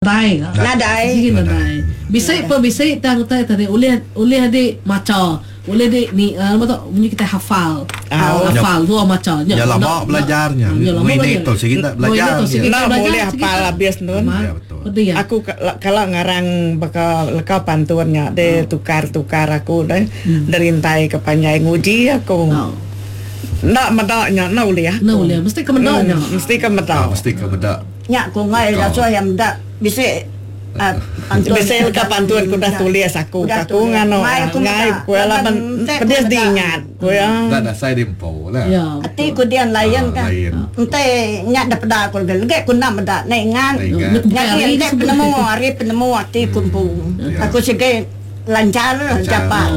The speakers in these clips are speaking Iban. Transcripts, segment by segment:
Nadai ga. Nadai. Sigi nadai. Bisi pun bisi tang utai tadi ulih ulih di macha, ulih di ni nama tu munyi kitai hafal. Hafal dua macha nya. Nya lama belajar nya. Ngini tu sigi enda belajar. Enda bulih hafal abis nun. Aku kala ngarang baka leka pantun nya deh tukar-tukar aku deh derintai ke panjai nguji aku. Enda meda nya enda ulih aku. Enda ulih mesti ke meda nya. Mesti ke meda. Mesti ke meda. Nya ku enggai ngasuh iya meda bisi pantun. Bisi leka pantun ku udah tulis aku ka ku nganu enggai ku iya laban pedis diingat ku iya. Enda dasai di empu lah. Ati ku dian lain ka. Enti nya da peda aku legi legi ku enda meda enda ingat. Nyadi enti penemu ari penemu ati ku empu. Aku sigi lanchar japat.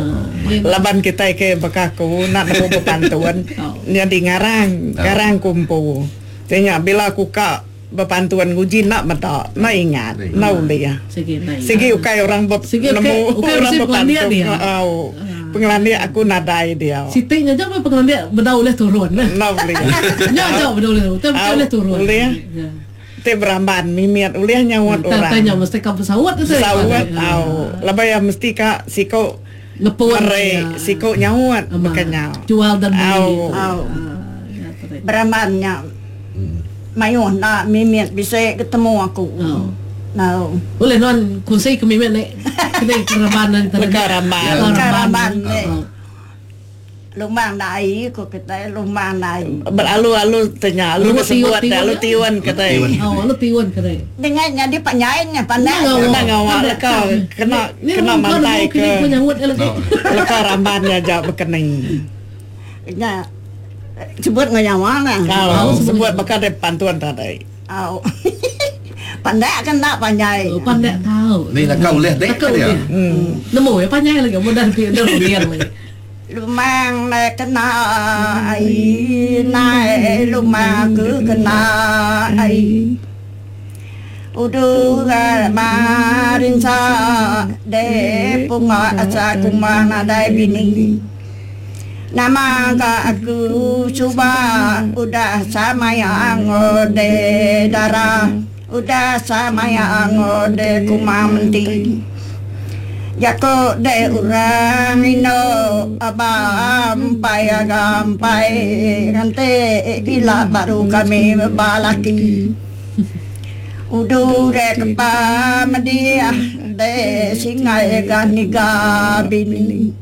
Laban kitai ke baka aku enda nemu bepantun nyadi ngarang ngarang ku empu. Ti nya bila ku ka bepantun nguji enda meda, enda ingat, enda ulih. Sigi ukai orang be nemu orang bepantun. Au. Pengelandik aku nadai dia. Siti nya aja meh pengelandik bedau ulih turun. Enda ulih. Nya aja bedau ulih turun. Utai bukai ulih turun. Ulih. Ti beramban mimit ulih nyaut orang. Utai nya mesti ka besaut. Besaut au. Laban iya mesti ka siku meri siku nyaut baka nya. Jual dan beli. Au. Beramban nya mayuh enda mimit bisi ketemu aku. Au. Ulih nuan kunsi ke mimit ni kini ramban ni tadi. Leka ramban. Leka ramban ni. Lumang dai ku kitai lumang dai. Belalu-alu te nya alu disebut te alu tiun kitai. Au alu tiun kitai. Dengan nyadi panjai nya pandai. Enda ngawa leka kena kena mantai ke leka ramban nya aja bekeni. Nya sebut enggau nyawa lah. Au sebut baka deh pantun tadi. Au. Pandak ke enda panjai. Oh, pandak tau. Ni naka ulih dek ke dia. Nemu ya panjai lagi mudah di runding lagi. Lumang nai kena ai nai lumang ke kena ai. Udu ga marinsa de punga asa kuma nadai bini. Nama ga aku suba udah samaya ngode dara udah samaya ngode kuma menti. Jako de orang ino aba empai aga empai nganti ila baru kami balaki. Udu de kepa mediah de singai ga niga bini.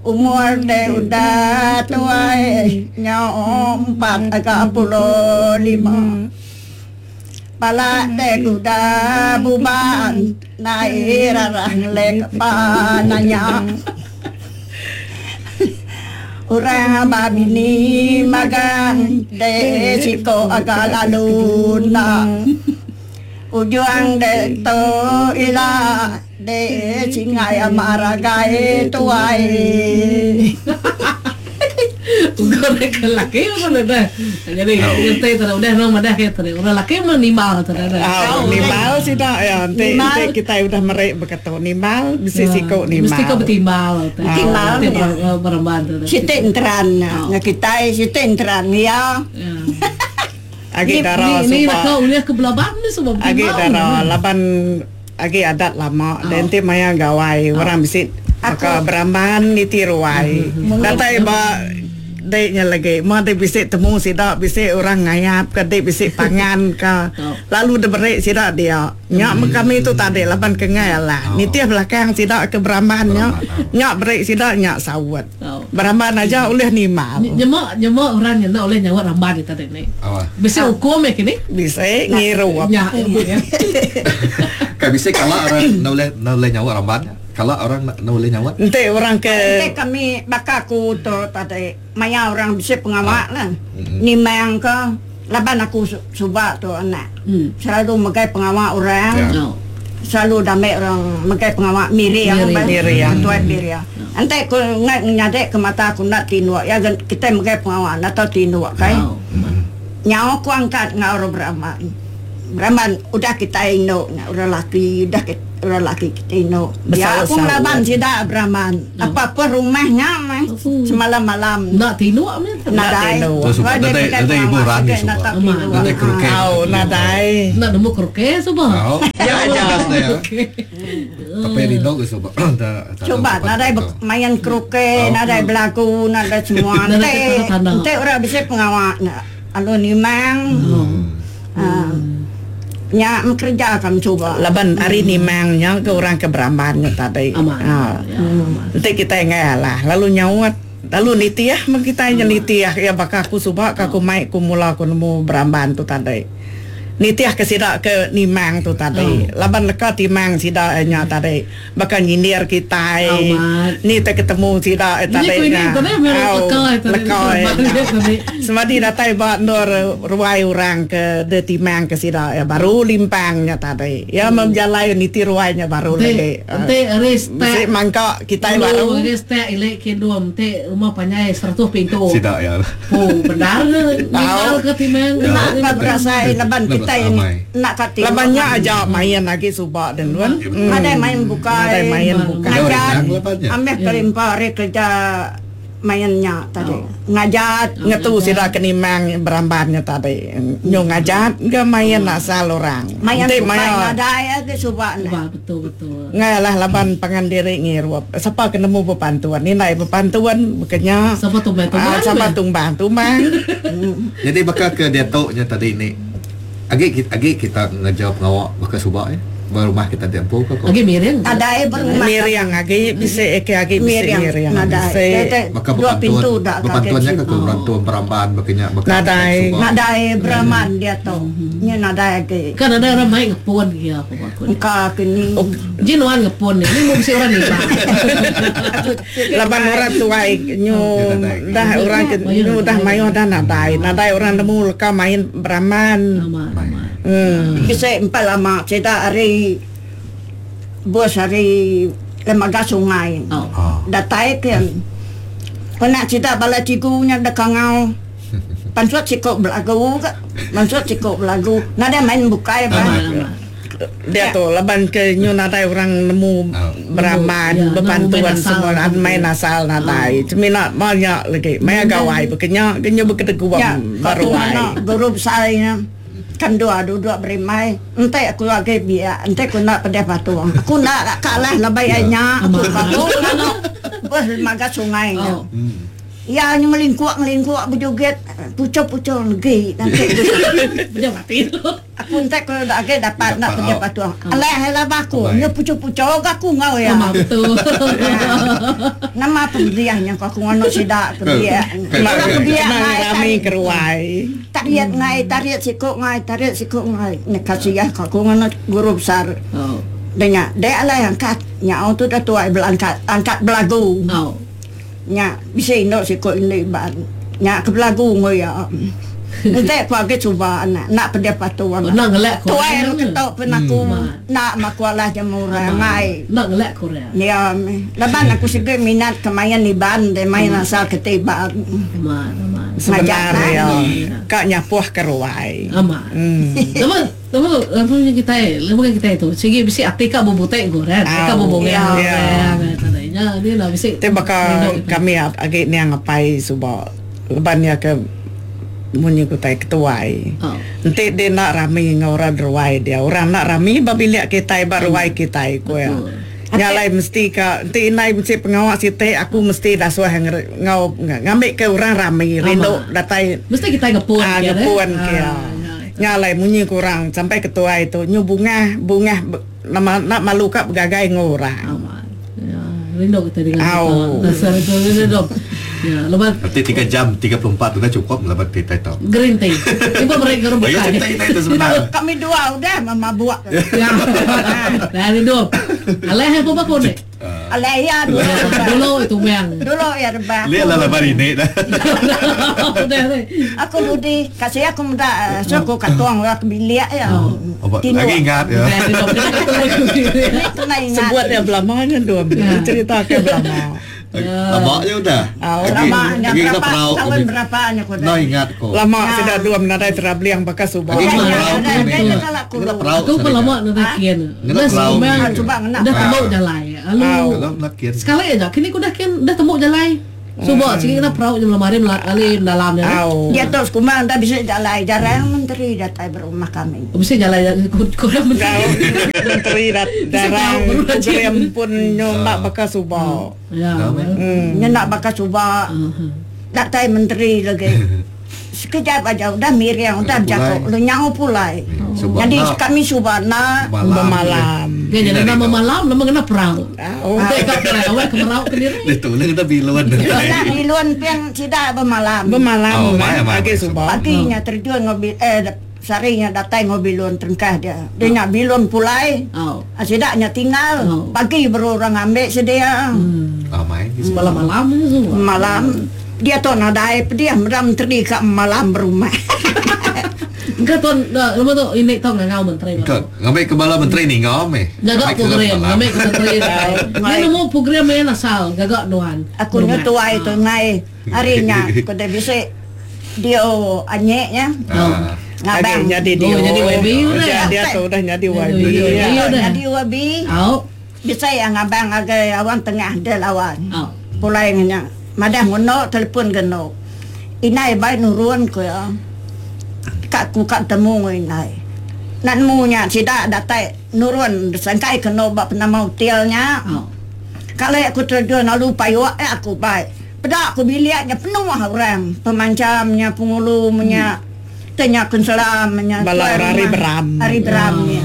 Umur deh udah tuai nyau 45. Pala deh udah buban nai rarah ngelek pa nanya. Orang ba bini magang deh siko aga lalu enda. Ujung deh tu ila. Deh singai amar agai tuai. Ukur ke laki pun ada. Jadi ngerti tu udah orang madah ke tu. Orang laki mah nimbal tu dah. Au nimbal sida ya enti enti kitai udah meri baka tu nimbal bisi siku nimbal. Mesti ko betimbal tu. Betimbal beremban tu. Siti enteran nya kitai siti enteran iya. Agi dara suba. Ulih ke belaban ni suba betimbal. Agi dara laban Agi adat lama deh enti maya gawai orang bisi baka beramban niti ruai. Datai ba dek nya lagi meh dek bisi temu sida bisi orang ngayap ka dek bisi pangan ka lalu diberi sida dia. Nya meh kami tu tadi laban ke enggai alah nitih belakang sida ke beramban nya nya beri sida nya saut. Beramban aja ulih nimbal. Nyema nyema orang nya enda ulih nyaut ramban nya tadi ni. Bisi ukum iya kini? Bisi ngirup. Nya iya. Kai bisi kala orang enda ulih enda ulih nyaut ramban nya? Kala orang enda ulih nyaut? Enti orang ke. Enti kami baka aku tu tadi maya orang bisi pengawa lah nimang ke laban aku suba tu anak selalu megai pengawa orang. Selalu dambi orang megai pengawa miring bah ketuai miring. Enti ku enggai nyadi ke mata aku enda tinduk iya ga kitai megai pengawa enda tau tinduk kai. Nyau ku angkat enggau orang beraban. Beramban udah kitai indu nya orang laki udah orang laki kitai indu. Dia aku ngelaban sida beramban. Apa pun rumah nya meh semalam malam. Enda tinduk meh. Nadai. Nadai nadai ibu orang ni suba. Nadai keruke. Au nadai. Enda nemu keruke suba. Au. Ya aja. Tapi rindu ke suba. Suba nadai main keruke, nadai belagu, nadai semua. Enti enti orang bisi pengawa nya alu nimang. Nya bekereja ka mencuba. Laban ari nimang nya ke orang ke beramban nya tadi. Enti kitai enggai alah lalu nyaut lalu nitih meh kitai nya nitih iya baka aku suba ka aku mai ku mula ku nemu beramban tu tadi. Nitih ke sida ke nimang tu tadi laban leka timang sida nya tadi. Baka nyindir kitai ni te ketemu sida tadi nya. Au leka nya. Semadi datai ba endur ruai orang ke de timang ke sida iya baru limpang nya tadi. Iya meh bejalai niti ruai nya baru lagi. Enti ari Bisi stak mangka kitai baru. Ari stak ili ke endum enti rumah panjai 100 pintu. Sida iya. Oh bendar ne ninggal ke timang. Enda ka berasai laban kitai enda ka tinduk. Laban nya aja main agi suba den lun. Nadai main bukai. Nadai main bukai. Ngajat ameh kelimpa ari kerja main nya tadi. Ngajat. Ngetu sida ke nimang beramban nya tadi. Nyu ngajat ga main asal orang. Main bukai nadai agi suba ne. Betul betul. Ngai alah laban pangan diri ngirup. Sapa ke nemu bepantun. Indai bepantun baka nya. Sapa tumbang tumbang. Sapa tumbang tumbang. Nyadi baka ke diatu nya tadi ni agi agi kita ngereja pengawa baka suba eh ba rumah kita ti empu ke ko. Agi miring. Nadai ba rumah. Miring agi bisi ke agi bisi miring. Nadai. Baka bepantun bepantun nya ke berantum beramban baka nya baka Nadai. suba. Nadai beramban diatu. Nya nadai agi. Kan nadai orang mai ngepun gia ku ba aku. Engka ke ni. Ji nuan ngepun ni, ni mung bisi orang niba. Laban orang tuai nyu dah orang ke nyu dah mayuh dah nadai. Nadai orang nemu leka main beraman. Uhh. Bisi empai lama sida ari bus ari Lembaga Sungai datai ke pernah sida bala cikgu nya deka ngau pansut siku belagu ka pansut siku belagu nadai main bukai bah. Diatu laban ke nyu nadai orang nemu beraman bepantun semua main asal nadai semina ba nya lagi maya gawai baka nya ke nyu bekedeguam ba ruai. Guru besai nya kan dua duduk berimbai enti aku agi biak enti aku enda pedih patung aku enda kalah labai ai nya aku patung anu beh lembaga sungai nya. Iya nya ngelingkuk ngelingkuk bejoget puchok puchok legi nanti. Aku enti ku agi dapat enda pedih patung. Alai laba aku nya puchok-puchok ga aku enggau iya. Nama pemedih nya ku aku nganu sida ke biak. Orang ke biak ngai rami ke ruai. Tarit ngai tarit siku ngai tarit siku ngai. Nya kasiah ku aku nganu guru besar. Dah nya dek alai angkat nyau tu dah tuai belangkat angkat belagu. Nya bisi indu siku indu Iban nya ke belagu enggau iya. Enti ku agi suba anak enda pedih patu anak. Enda ngelak ku Tuai orang ketu pun aku enda maku alah jemu orang ai. Enda ngelak ku orang. Ya meh. Laban aku sigi minat ke main Iban deh main asal keti Iban. Amat amat. Sebenar iya ka nyapuh ke ruai. Amat. Nama nama apa kitai lebuh kitai tu sigi bisi ati ka bebuti ku orang ka bebungah orang nya ni lah bisi. Ti baka kami agi niang apai suba laban iya ke munyi ku utai ketuai. Enti dia enda rami enggau orang ruai dia orang enda rami ba bilik kitai ba ruai kitai ku iya. Nya alai mesti ka enti indai bisi pengawa siti aku mesti dasuh enggau ngambika orang rami rindu datai mesti kitai ngepun ngepun ke iya. Nya alai munyi ku orang sampai ketuai tu nyu bungah bungah nama enda malu ka begagai enggau orang. Amat. Ya, rindu kita dengan kita. Rindu. Ya, lepas Nanti 3 jam 34 udah cukup laban kita tu. Green tea. Ibu beri ke orang bukai. Cerita kita itu sebenarnya. Kami dua udah mabuk. Ya. Dah rindu. Alai apa apa ni? Alai ya dulu. Dulu itu bang. Dulu ya rebah. Lihat lah laban ini dah. Aku dudi kasih aku muda so aku katuang orang ke bilik ya. Lagi ingat ya. Sebut dia belama nya dua cerita ke belama. Lama nya udah. Lama nya berapa tahun berapa nya ku Enda ingat ku. Lama sida dua nadai travelling baka suba. Agi ngena perau kini. Ngena perau. Aku pun lama nadai kin. Ngena perau. Udah temu jalai. Lalu sekali aja kini ku udah kin udah temu jalai. Suba sigi ngena perau nya meli ari mendalam nya. Diatu sekumbang enda bisi jalai jarang menteri datai ba rumah kami. Bisi jalai kurang menteri. Menteri jarang program pun nyu enda baka suba. Nya enda baka suba datai menteri lagi sekejap aja udah miring udah bejaku lalu nyau pulai. Nyadi kami suba enda bemalam. Nya jadi enda bemalam nama ngena perau. Enti ka perau awak ke merau kediri. Ditu ulih ngena bilun. Ngena bilun pin sida bemalam. Bemalam agi suba. Pagi nya terjun enggau eh sehari nya datai enggau bilun terengkah dia. Dia nya bilun pulai sida nya tinggal pagi baru orang ngambi sedia. Semalam-malam nya suba. Malam. Diatu nadai pedih meda menteri ka malam berumah. Engka tuan nama tu ini tau ngangau menteri baru. Ngambi ke bala menteri ninga meh. Gaga program ngambi ke menteri datai. Nya nemu program iya asal gaga nuan. Aku nya tuai tu enggai ari nya ku deh bisi dio anyek nya. Ngabang. Nyadi dio. Nyadi YB udah. Diatu udah nyadi YB. Nyadi YB. Bisi iya ngabang ngagai awang tengah deh lawan. Pulai ngenya. Madah ngeno telefon ke endo. Indai bai nurun ku iya. Ka ku ka betemu enggau indai. Enda nemu nya sida datai nurun sangkai ke endo ba penama hotel nya. Kali aku terjun lalu payuk eh aku bai. Peda ku bilik nya penuh orang pemancha menya pengulu menya te nya konsela menya Bala orang ari Beram. Ari Beram nya.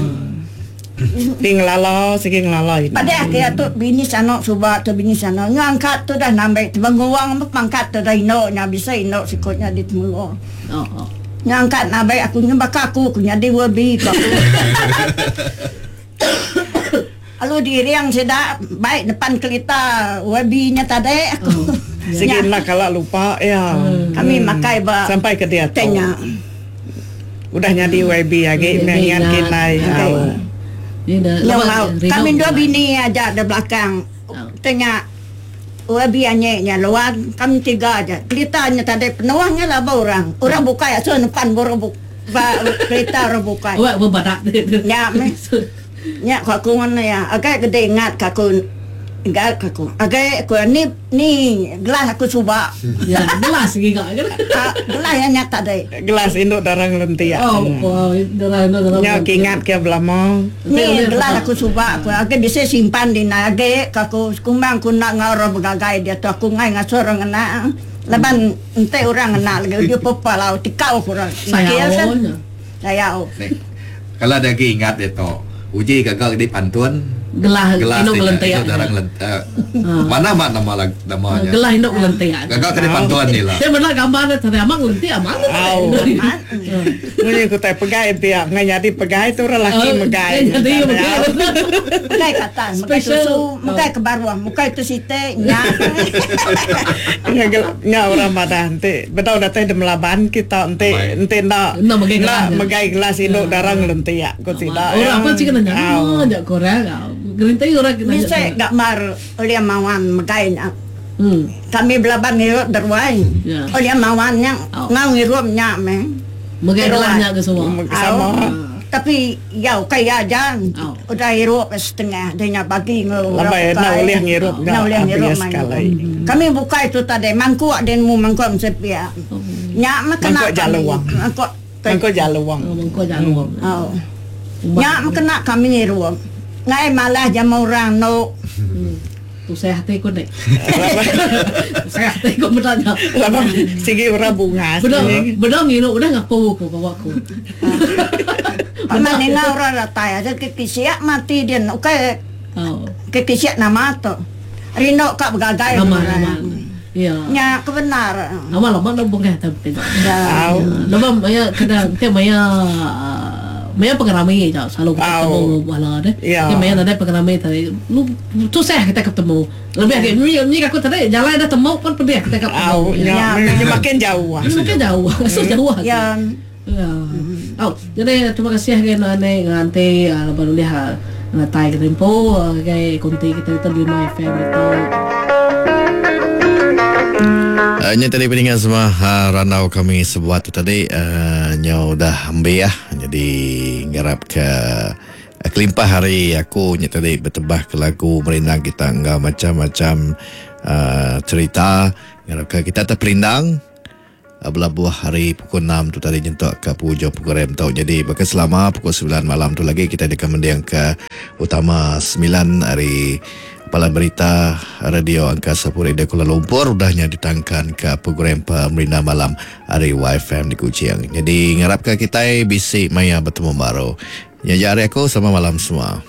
Ti ngelala sigi ngelala ina. Padah ke iya tu bini sano suba tu bini sano nyu angkat tu dah nambai temenguang meh pangkat tu dah indu nya bisi indu siku nya di temenguang. Nyu angkat nabai aku nyu baka aku ku nyadi wabi ku aku. Lalu diring sida bai depan kelita wabi nya tadi aku. Sigi enda kala lupa iya. Kami makai ba sampai ke diatu. Nya. Udah nyadi YB agi meh ngan kindai au. Kami dua bini aja da belakang te nya YB anyi nya luan kami tiga aja. Kerita nya tadi penuh nya laba orang. Orang bukai asuh nepan ba orang ba kerita orang bukai. Nya meh. Nya ku aku ngan iya. Agai gede ingat ka aku ingat ka aku. Agai ku ni ni gelas aku suba. Ya, gelas giga ke. Ah, gelas iya nya tadi. Gelas indu darang lentik. Oh, oh darang indu darang. Nya ke ingat ke belama. Ni gelas aku suba ku agi bisi simpan di indai agi ka aku sekumbang ku enda enggau orang begagai diatu aku enggai ngasuh orang ngena laban enti orang ngena lagi uji pepa lau tikau ku orang. Sayau nya. Sayau. Kala dia agi ingat dia tu. Uji gaga di pantun. Gelah gelas indu ngelentik. Indu darang lentik. Mana amat nama lag nama nya. Gelah indu ngelentik. Gaga ke di pantun ni lah. Saya meda gambar dia tadi amat ngelentik amat. Au. Munyi ku tai pegai pia ngai nyadi pegai tu orang laki megai. Nyadi megai. Megai ke atas, megai susu, megai ke baruh, megai tu siti nya. Nya orang madah enti Bedau datai de melaban kita enti enti enda Enda megai gelas enda megai gelas indu dara ngelentik ku sida Orang iya. pun sigi nanya Au. nama ja ku orang gerinti orang ke nanya Bisi gambar ulih mawan megai nya. Hmm. Kami belaban ngirup deruai. Ya. Ulih mawan nya Au. enggau ngirup nya meh. Megai gelas Deruai. nya ke semua. Sama. Au. Tapi iya ukai iya aja Au. udah irup setengah dia nya bagi enggau orang Laban enda bukai. ulih ngirup Enda nya ulih ngirup habis mayuh. sekali. Kami bukai tu tadi mangkuk dia nemu mangkuk mesepia. Nya meh kena Mangkuk kami. jaluang. Mangkuk Mangkuk jaluang. Oh, mangkuk jaluang. Au. Nya meh kena kami ngirup. Ngai malas jama orang endo. Tusah ati ku nek. Tusah ati ku meda nya. Laban sigi orang bungas. Beda beda ngirup udah ngapu ku bawa ku. Pama ninga orang datai aja ke kisiak mati din ukai ke kisiak nama tu. Rindu ka begagai Nama nama. Ya. Nya ke bendar. Nama lama enda bungah tu peda. Lebuh maya kena enti maya maya pengerami ja selalu kita betemu enggau bala deh. Enti maya nadai pengerami tadi lu tusah kita ke betemu. Lebih agi nyi aku tadi jalai dah temu pun pedih kita ka betemu. Au nya nya makin jauh. Nya makin jauh. Ngasuh jauh agi. Ya. Au jadi terima kasih ngagai nuan ane nganti laban ulih ngetai ke tempo ngagai konti kita ditu di Lima FM ditu. Uh, nya tadi peninga semua uh, randau kami sebuat tu tadi uh, nyau udah ambi ah. Jadi ngarap ke uh, kelimpah hari aku nya tadi betebah ke lagu merindang kita enggau macam-macam uh, cerita ngarap ke kita terperindang belabuh hari pukul 6 tu tadi nyentuk ke penghujung program tu. Jadi baka selama pukul 9 malam tu lagi kita deka mending ke utama 9 hari Palan Berita Radio Angkasa Puri di Kuala Lumpur udah nya ditangkan ke program Pemerintah Malam hari YFM di Kuching. Jadi ngarapka kitai bisi maya betemu baru. Nya jari aku sama malam semua.